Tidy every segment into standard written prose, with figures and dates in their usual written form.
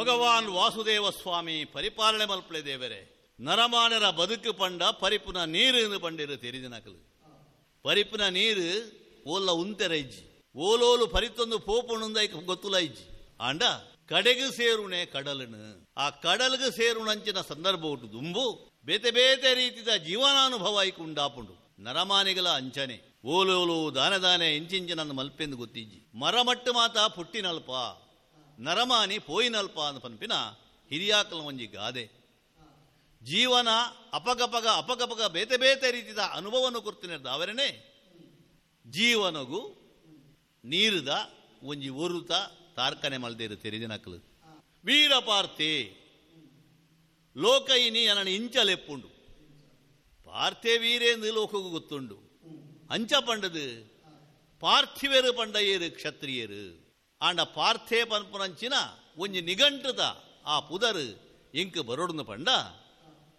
ಭಗವಾನ್ ವಾಸುದೇವ ಸ್ವಾಮಿ ಪರಿಪಾಲನೆ ಮಲ್ಪಲೆ ದೇವರೇ. ನರಮಾನರ ಬದುಕು ಪಂಡ ಪರಿಪುನ ನೀರು ಪಂಡಿರು ತೆರಿದಿನಕಲು. ಪರಿಪುನ ನೀರು ಓಲ್ಲ ಉಂತೆರ ಇಜ್ಜಿ, ಓಲೋಲು ಪರಿತೊಂದು ಪೋಪುಣುಂದ ಗೊತ್ತುಲ ಇಜ್ಜಿ. ಆಂಡ ಕಡೆಗು ಸೇರುಣೆ ಕಡಲನು, ಆ ಕಡಲ್ಗು ಸೇರುಣಂಚಿನ ಸಂದರ್ಭ ಉಂಟು ದುಂಬು ಬೇತೆ ಬೇತೆ ರೀತಿಯ ಜೀವನಾನುಭವ ಐಕು ಉಂಡಾಪುಂಡು. ನರಮಾನಿಗಳ ಅಂಚನೆ ಓಲೋಲು ದಾನೆ ದಾನೆ ಇಂಚಿಂಚಿನ ಮಲ್ಪೆಂದು ಗೊತ್ತಿಜ್ಜಿ. ಮರಮಟ್ಟು ಮಾತ ಪುಟ್ಟಿನಲ್ಪ ನರಮಾನಿ ಪೋಯಿನಲ್ಪ ಅಂದ ಪನ್ಪಿನ ಹಿರಿಯಾಕಲ ಒಂಜಿ ಗಾದೆ. ಜೀವನ ಅಪಗಪಗ ಅಪಗಪಗ ಬೇತೆ ಬೇತೆ ರೀತಿಯ ಅನುಭವವನ್ನು ಕೊರ್ತಿನ ಅವರನೇ ಜೀವನಗು ನೀರುದ ಒಂಜಿ ಒರುತ ತಾರ್ಕನೆ ಮಲ್ದೇರು ತೆರಿದಿನಕಲು. ವೀರಪಾರ್ಥೆ ಲೋಕಯಿನಿ ಅನನ ಇಂಚಲೆಪ್ಪುಂಡು. ಪಾರ್ಥೆ ವೀರೇಂದು ಲೋಕಗೂ ಗೊತ್ತುಂಡು. ಅಂಚ ಪಂಡದು ಪಾರ್ಥಿವೇರು ಪಂಡಯೇರು ಕ್ಷತ್ರಿಯರು. ಆಂಡ ಪಾರ್ಥೆ ಪನ್ಪುನಂಚಿನ ಒಂಜಿ ನಿಘಂಟುದ ಆ ಪುದರು ಇಂಕ್ ಬರೋಡುನ ಪಂಡ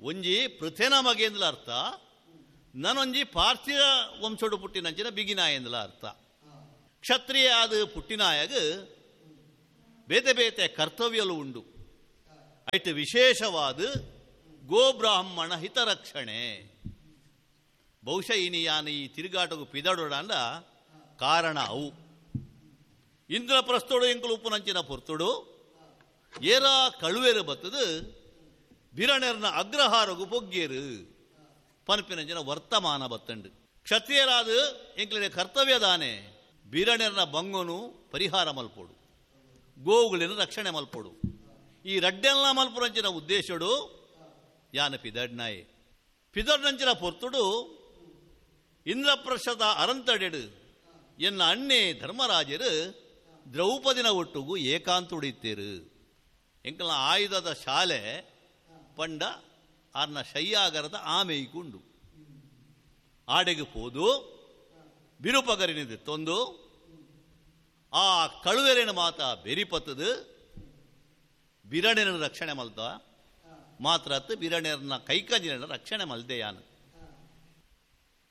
ಒಂಜಿ ಪೃಥೆನ ಮಗೇಂದ್ಲ ಅರ್ಥ, ನಾನೊಂಜಿ ಪಾರ್ಥಿವ ವಂಶೋಡು ಪುಟ್ಟಿನಂಚಿನ ಬಿಗಿನಾಯಂದ್ಲ ಅರ್ಥ. ಕ್ಷತ್ರಿಯ ಆದ ಪುಟ್ಟಿನಾಯಗ ಬೇತೆ ಬೇತೆ ಕರ್ತವ್ಯಲು ಉಂಡು. ಐಟ್ ವಿಶೇಷವಾದ ಗೋಬ್ರಾಹ್ಮಣ ಹಿತರಕ್ಷಣೆ. ಬಹುಶಃ ಇನಿ ಯಾನು ಈ ತಿರುಗಾಟకు ಪಿದಡೋಡಂಡ ಕಾರಣ ಅವು. ಇಂದ್ರಪ್ರಸ್ಥೋಡು ಎಂಕುಲು ಉಪ್ಪುನಂಚಿನ ಪೊರ್ತುಡು ಏರಾ ಕಳುವೇರು ಬತ್ತದು ಬಿರಣೆರ್ನ ಅಗ್ರಹಾರಗು ಪೊಗ್ಗೇರು ಪನ್ಪಿನಂಚಿನ ವರ್ತಮಾನ ಬತ್ತಂಡು. ಕ್ಷತ್ರಿಯರಾದ ಎಂಕ್ಲಿನ ಕರ್ತವ್ಯ ದಾನೆ ಬಿರಣೆರ್ನ ಬಂಗನು ಪರಿಹಾರ ಮಲ್ಪೋಡು, ಗೋವುಗಳಿನ ರಕ್ಷಣೆ ಮಲ್ಪೋಡು. ಈ ರಡ್ಡೆಲ್ಲ ಮಲ್ಪುರಂಚಿನ ಉದ್ದೇಶಡು ಯಾನ ಪಿದಡ್ನಾಯೆ. ಪಿದಡ್ನಂಚಿನ ಪೊರ್ತುಡು ಇಂದ್ರಪ್ರಸ್ಥದ ಅರಂತಡೆಡು ಎನ್ನ ಅಣ್ಣೆ ಧರ್ಮರಾಜರು ದ್ರೌಪದಿನ ಒಟ್ಟುಗು ಏಕಾಂತುಡಿತ್ತೇರು. ಎಂಕಲ್ನ ಆಯುಧದ ಶಾಲೆ ಪಂಡ ಆರ್ನ ಶಯ್ಯಾಗರದ ಆಮೆಯ್ಕುಂಡು. ಆಡೆಗೆ ಪೋದು ಬಿರುಪಗರಿನಿದೆ ತೊಂದು ಆ ಕಳುವೆರಿನ ಮಾತ ಬೆರಿಪತ್ತದು ಬಿರಣೆನ ರಕ್ಷಣೆ ಮಲ್ತ ಮಾತ್ರ ಬಿರಣೆರನ್ನ ಕೈಕಂಜಿನ ರಕ್ಷಣೆ ಮಲ್ದೆ ಯಾನು.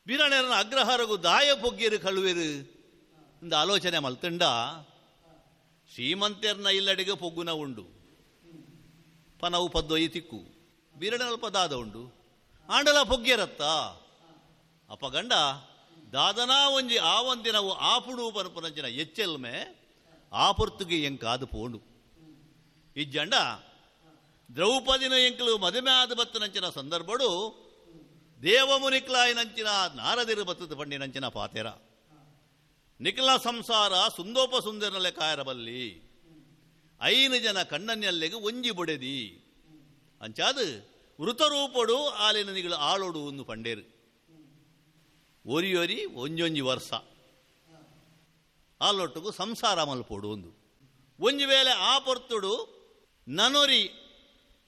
ಬಿರಣೆರನ ಅಗ್ರಹಾರಗು ದಾಯ ಪೊಗ್ಗೇರು ಕಳುವೆರು ಇಂದ ಆಲೋಚನೆ ಮಲ್ತಂಡ ಶ್ರೀಮಂತೆರ್ನ ಇಲ್ಲಡೆಗೆ ಪೊಗ್ಗುನ ಉಂಡು ಪನವು ಪದ್ದೊಯ್ಯಿ ತಿಕ್ಕು ಬಿರಣಲ್ಪ ದಾದ ಉಂಡು ಆಂಡಲ ಪೊಗ್ಗೇರತ್ತ ಅಪಗಂಡ ದಾದನಾ ಒಂಜಿ ಆವಂದಿನವು ಆಪುಡು ಪನ್ಪುನಂಚಿನ ಎಚ್ಚೆಲ್ಮೆ ಆಪುರ್ತುಗೆ ಎಂಕಾದು ಪೋಂಡು. ಇಜ್ಜಂಡ ದ್ರೌಪದಿನ ಎಂಕಲು ಮದುವೆ ಆದ ಬತ್ತನಂಚಿನ ಸಂದರ್ಭಡು ದೇವಮುನಿಕ್ಲಾಯಿನಂಚಿನ ನಾರದಿರು ಬತ್ತದ ಪಂಡಿನಂಚಿನ ಪಾತೆರ ನಿಖಲ ಸಂಸಾರ ಸುಂದೋಪ ಸುಂದರನಲೆ ಕಾಯರಬಲ್ಲಿ ಐನು ಜನ ಕಣ್ಣನ್ಯಲ್ಲೆಗೆ ಒಂಜಿ ಬೊಡೆದಿ ಅಂಚಾದು ವೃತರೂಪಡು ಆಲಿನ ನಿಗಳು ಆಳೋಡು ಒಂದು ಪಂಡೇರು. ಒರಿಯೊರಿ ಒಂಜೊಂಜಿ ವರ್ಷ ಆಲೊಟ್ಟುಗು ಸಂಸಾರ ಮಲ್ಪೋಡು ಒಂದು ಒಂಜಿ ವೇಳೆ ಆ ಪೊರ್ತುಡು ನನೊರಿ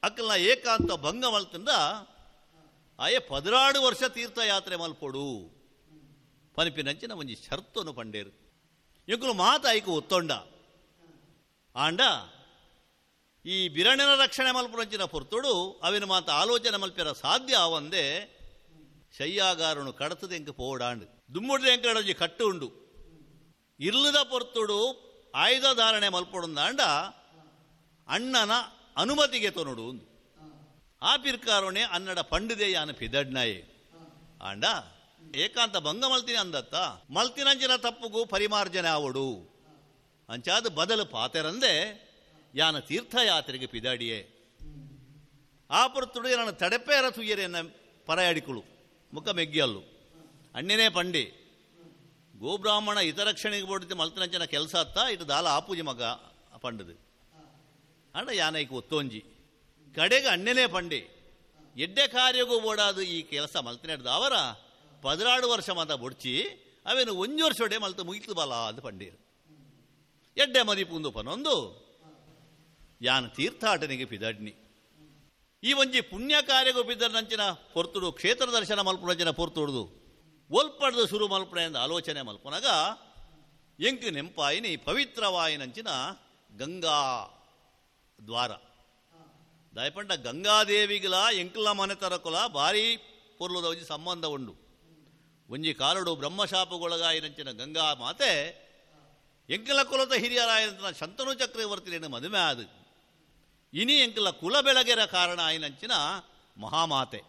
ಅಕ್ಕಲ್ನ ಏಕಾಂತ ಭಂಗ ಮಲ್ತಂದ ಆಯೆ 16 ವರ್ಷ ತೀರ್ಥಯಾತ್ರೆ ಮಲ್ಪೋಡು ಪನಿಪಿನಂಚಿನ ಒಂಜಿ ಶರ್ತನು ಪಂಡೇರು. ಎಂಕುಲು ಮಾತ ಐಕು ಒತ್ತೊಂಡ ಆಂಡ ಈ ಬಿರಣನ ರಕ್ಷಣೆ ಮಲ್ಪುನಂಚಿನ ಪೊರ್ತುಡು ಅವಿನ ಮಾತ ಆಲೋಚನೆ ಮಲ್ಪಿರ ಸಾಧ್ಯ ಆವಂದೆ ಶಯ್ಯಾಗಾರನು ಕಡತದ ಎಂಕ ಪೋಡಾಂಡು ದುಮ್ಮುಡ್ದ ಎಂಕಡೊಂಜಿ ಕಟ್ಟು ಉಂಡು. ಇರ್ಲದ ಪೊರ್ತುಡು ಆಯುಧ ಧಾರಣೆ ಮಲ್ಪೊಡುಂದಾಂಡ ಅಣ್ಣನ ಅನುಮತಿಗೆ ತೊನಡು ಒಂದು ಆ ಪಿರ್ಕಾರೋಣೆ ಅನ್ನಡ ಪಂಡಿದೆ ಯಾನ ಪಿದಡ್ನಾಯೆ. ಆಂಡ ಏಕಾಂತ ಭಂಗ ಮಲ್ತಿನಿ ಅಂದತ್ತ ಮಲ್ತಿನಂಚಿನ ತಪ್ಪುಗು ಪರಿಮಾರ್ಜನೆ ಆವಡು ಅಂಚಾದ ಬದಲು ಪಾತೆರಂದೆ ಯಾನ ತೀರ್ಥಯಾತ್ರೆಗೆ ಪಿದಾಡಿಯೇ. ಆ ಪೊರ್ತುಡು ನಾನು ತಡೆಪೇರ ತುಯ್ಯರೆನ್ನ ಪರಾಯಡಿಕುಳು ಮುಖ ಮೆಗ್ಗಿಯಲ್ಲು ಅಣ್ಣನೇ ಪಂಡಿ ಗೋಬ್ರಾಹ್ಮಣ ಹಿತರಕ್ಷಣೆಗೆ ಬೋಡಿದ್ದೆ ಮಲ್ತನಂಚಿನ ಕೆಲಸ ಅತ್ತ ಇటు ದಾಲ ಆಪೂಜಿ ಮಗ ಪಂಡದು ಅಂಡ ಯಾನೈಕ್ ಒತ್ತೊಂಜಿ ಕಡೆಗೆ ಅಣ್ಣನೇ ಪಂಡಿ ಎಡ್ಡೆ ಕಾರ್ಯಗೂ ಬೋಡಾದು ಈ ಕೆಲಸ ಮಲ್ತಿನಡ್ದ ಅವರ 16 ವರ್ಷ ಮಾತ ಬೊಡ್ಚಿ ಅವೇನು ಒಂಜಿ ವರ್ಷೊಡೆ ಮಲ್ತು ಮುಗಿತು ಬಲ ಅದು ಪಂಡೀರು. ಎಡ್ಡೆ ಮದಿಪುಂದು ಪನೊಂದು ಯಾನ ತೀರ್ಥಾಟನಿಗೆ ಪಿದಡ್ನಿ. ಈ ಒಂಜಿ ಪುಣ್ಯ ಕಾರ್ಯಗೂ ಪಿದರ್ನಂಚಿನ ಪೊರ್ತುಡು ಕ್ಷೇತ್ರ ದರ್ಶನ ಮಲ್ಪುನಂಚಿನ ಪೊರ್ತುಡುದು ಒಲ್ಪಡ್ದು ಶುರು ಮಲ್ಪುಣ ಎಂದು ಆಲೋಚನೆ ಮಲ್ಪುನಗ ಎಂಕ್ ನೆಂಪಾಯಿನಿ ಪವಿತ್ರವಾಯಿನಂಚಿನ ಗಂಗಾ ದ್ವಾರ. ದಾಯಪಂಡ ಗಂಗಾದೇವಿಗಳ ಎಂಕ್ಲ ಮನೆತರಕುಲ ಭಾರಿ ಪೊರ್ಲುದ ಒಂಜಿ ಸಂಬಂಧ ಉಂಡು. ಒಂಜಿ ಕಾಲಡು ಬ್ರಹ್ಮಶಾಪಗೊಳಗಾಯಿನಂಚಿನ ಗಂಗಾ ಮಾತೆ ಎಂಕಲ ಕುಲದ ಹಿರಿಯರಾಯಂತ ಶಂತನು ಚಕ್ರವರ್ತಿಯನ್ನು ಮದುವೆ ಆದು ಇನಿ ಎಂಕಲ ಕುಲ ಬೆಳಗೆರ ಕಾರಣ ಆಯಿನಂಚಿನ ಮಹಾಮಾತೆ.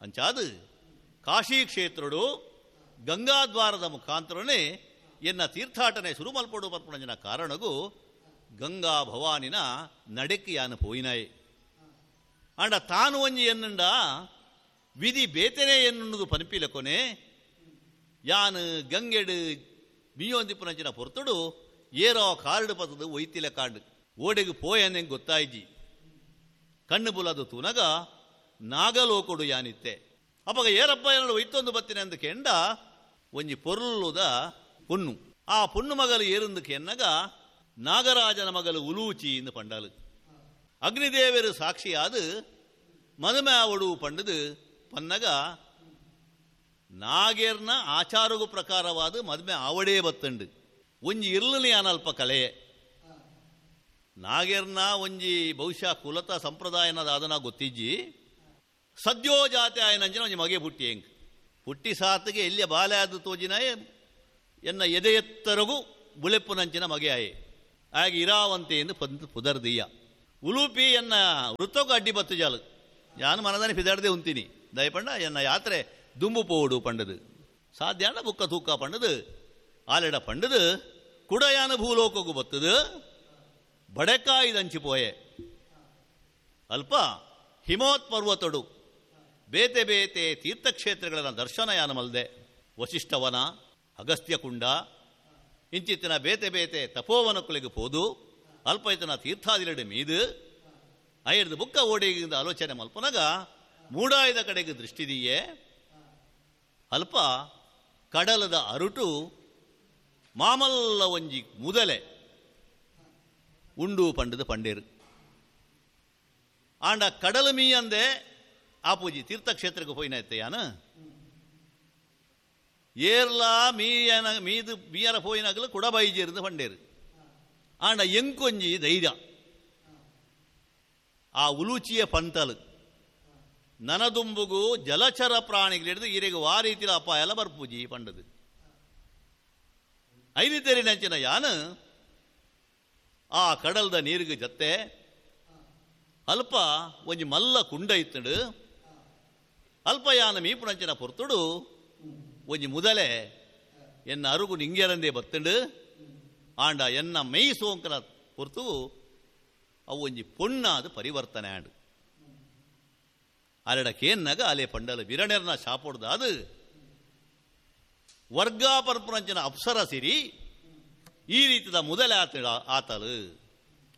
ಅಂಚಾದು ಕಾಶಿ ಕ್ಷೇತ್ರಡು ಗಂಗಾದ್ವಾರದ ಮುಖಾಂತರನೇ ಎನ್ನ ತೀರ್ಥಾಟನೆ ಶುರು ಮಲ್ಪಡು ಪರ್ಪಣಂಜಿನ ಕಾರಣಗೂ ಗಂಗಾ ಭವಾನಿನ ನಡೆಕ್ಕಿಯಾನು ಪೋಯಿನಾಯೆ. ಆಂಡ ತಾನು ಒಂಜಿ ಎನ್ನುಂಡ ವಿಧಿ ಬೇತನೆ ಎನ್ನುವುದು ಪನಿಪಿಲ ಕೊನೆ ಯಾನು ಗಂಗೆಡು ಮೀಯೊಂದಿಪ್ಪುನಂಚಿನ ಪೊರ್ತುಡು ಏರೋ ಕಾರಡು ಪತ್ತದು ಒಯ್ತಿಲ ಕಾಂಡು ಓಡೆಗೆ ಪೋಯನ್ನೆಂಗೆ ಗೊತ್ತಾಯ್ಜಿ. ಕಣ್ಣು ಬುಲದು ತೂನಗ ನಾಗಲೋಕೊಡು ಯಾನಿತ್ತೆ. ಅಪ್ಪಗ ಏರಪ್ಪ ಏನಡು ಒಯ್ತೊಂದು ಬತ್ತಿನ ಅಂದು ಕೆಂಡ ಒಂಜಿ ಪೊರ್ಲುದ ಪೊಣ್ಣು. ಆ ಪೊಣ್ಣು ಮಗಲು ಏರಂದು ಕೆನ್ನಗ ನಾಗರಾಜನ ಮಗಲು ಉಲೂಚಿ ಎಂದು ಪಂಡಲು. ಅಗ್ನಿದೇವರು ಸಾಕ್ಷಿಯಾದ ಮದುಮೆ ಆವಡು ಪಂಡದು ಪನ್ನಗ ನಾಗೇರ್ನ ಆಚಾರಗು ಪ್ರಕಾರವಾದ ಮದುಮೆ ಆವಡೇ ಬತ್ತಂಡು. ಒಂಜಿ ಇರ್ಲನಿ ಅನಲ್ಪ ಕಲೆಯೇ ನಾಗೇರ್ನ ಒಂಜಿ ಬಹುಶಃ ಕುಲತ ಸಂಪ್ರದಾಯನದ ಅದನ್ನ ಗೊತ್ತಿಜ್ಜಿ. ಸದ್ಯೋ ಜಾತಿ ಆಯನಂಜಿನ ಒಂಜಿ ಮಗೆ ಪುಟ್ಟಿ ಹೆಂಗ್ ಪುಟ್ಟಿ ಸಾತಿಗೆ ಎಲ್ಲಿಯ ಬಾಲೆ ಆದ ತೋಜಿನಾಯೆ ಎನ್ನ ಎದೆಯೆತ್ತರಗು ಬುಳೆಪ್ಪುನಂಚಿನ ಮಗೆ ಆಯೆ. ಆಗ ಇರಾವಂತೆ ಎಂದು ಪಂದು ಪುದರ್ದೀಯ ಉಲೂಪಿ ಎನ್ನ ವೃತ್ತಕ್ಕೂ ಅಡ್ಡಿ ಬತ್ತು ಜಾಲು ಯಾನು ಮನದಾನಿ ಫಿದಾಡ್ದೆ ಉಂತೀನಿ ದಯಪಂಡ ಎನ್ನ ಯಾತ್ರೆ ದುಂಬು ಪೋಡು ಪಂಡದು ಸಾಧ್ಯಾನ ಬುಕ್ಕ ತೂಕ ಪಂಡದು ಆಲೆಡ ಪಂಡದು ಕುಡಯಾನ ಭೂಲೋಕಗೂ ಬತ್ತದು ಬಡೆಕಾಯಿದಂಚಿ ಪೋಯೆ. ಅಲ್ಪ ಹಿಮೋತ್ ಪರ್ವತಡು ಬೇತೆ ಬೇತೆ ತೀರ್ಥಕ್ಷೇತ್ರಗಳ ದರ್ಶನ ಯಾನ ಮಲ್ದೆ. ವಶಿಷ್ಠವನ, ಅಗಸ್ತ್ಯಕುಂಡ ಇಂಚಿತ್ತಿನ ಬೇತೆ ಬೇತೆ ತಪೋವನಕ್ಕುಲಿಗೆ ಪೋದು ಅಲ್ಪ ಇತನ ತೀರ್ಥಾದಿಲೆಡೆ ಮೀದು ಐರ್ದು ಬುಕ್ಕ ಓಡಿಗಿಂದ ಆಲೋಚನೆ ಮಲ್ಪನಗ ಮೂಡಾಯದ ಕಡೆಗೆ ದೃಷ್ಟಿದೀಯೇ. ಅಲ್ಪ ಕಡಲದ ಅರುಟು ಮಾಮಲ್ಲ ಒಂಜಿ ಮುದಲೆ ಉಂಡು ಪಂಡದ ಪಂಡೇರು. ಆಂಡ ಕಡಲು ಮೀಯಂದೆ ಆಪೂಜಿ ತೀರ್ಥಕ್ಷೇತ್ರಕ್ಕೆ ಪೋಯಿನ ಯಾನ ಏರ್ಲಾ ಮೀಯನ ಮೀದು ಮೀಯರ ಪೋಯಿನಾಗಲು ಕುಡಬೈಜೇರ್ದು ಪಂಡೇರು. ಆಂಡ ಎಂಕೊಂಜಿ ಧೈರ್ಯ ಆ ಉಲೂಚಿಯ ಪಂತಲು ನನದುಂಬುಗು ಜಲಚರ ಪ್ರಾಣಿಗಳಿಡಿದು ಈರೆಗೆ ವಾ ರೀತಿಯ ಅಪಾಯ ಎಲ್ಲ ಬರ್ಪೂಜಿ ಪಂಡದು. ಐದು ತೆರಿನಂಚಿನ ಯಾನು ಆ ಕಡಲ್ದ ನೀರಿಗೆ ಜತ್ತೆ ಅಲ್ಪ ಒಂಜಿ ಮಲ್ಲ ಕುಂಡ ಇತ್ತಡು. ಅಲ್ಪ ಯಾನ ಮೀಪುನಂಚಿನ ಪೊರ್ತುಡು ಒಂಜಿ ಮುದಲೆ ಎನ್ನ ಅರುಗು ನಿಂಗೆರಂದೇ ಬತ್ತಂಡು. ಆಂಡ ಎನ್ನ ಮೈ ಸೋಂಕನ ಪೊರ್ತು ಅವು ಒಂಜಿ ಪೊಣ್ಣಾದ ಪರಿವರ್ತನೆ ಆಂಡು. ಅಲೆಡ ಕೇನ್ನಗ ಅಲೆ ಪಂಡಲ ಬಿರಣೆರ್ನ ಶಾಪೊಡ್ದ ಅದು ವರ್ಗಾಪರ್ಪುರಂಚಿನ ಅಪ್ಸರ ಸಿರಿ ಈ ರೀತಿದ ಮೊದಲೇ ಆತ ಆತಲು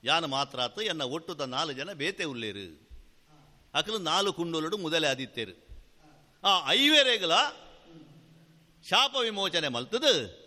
ಯಾನು ಮಾತ್ರ ಆತು ಎನ್ನ ಒಟ್ಟುದ 4 ಜನ ಬೇತೆ ಉಲ್ಲೇರು ಅಕಲು 4 ಕುಂಡೋಲುಡು ಮೊದಲೇ ಆದಿತ್ತೇರು. ಆ ಐವೇರೆಗಳ ಶಾಪ ವಿಮೋಚನೆ ಮಲ್ತದು.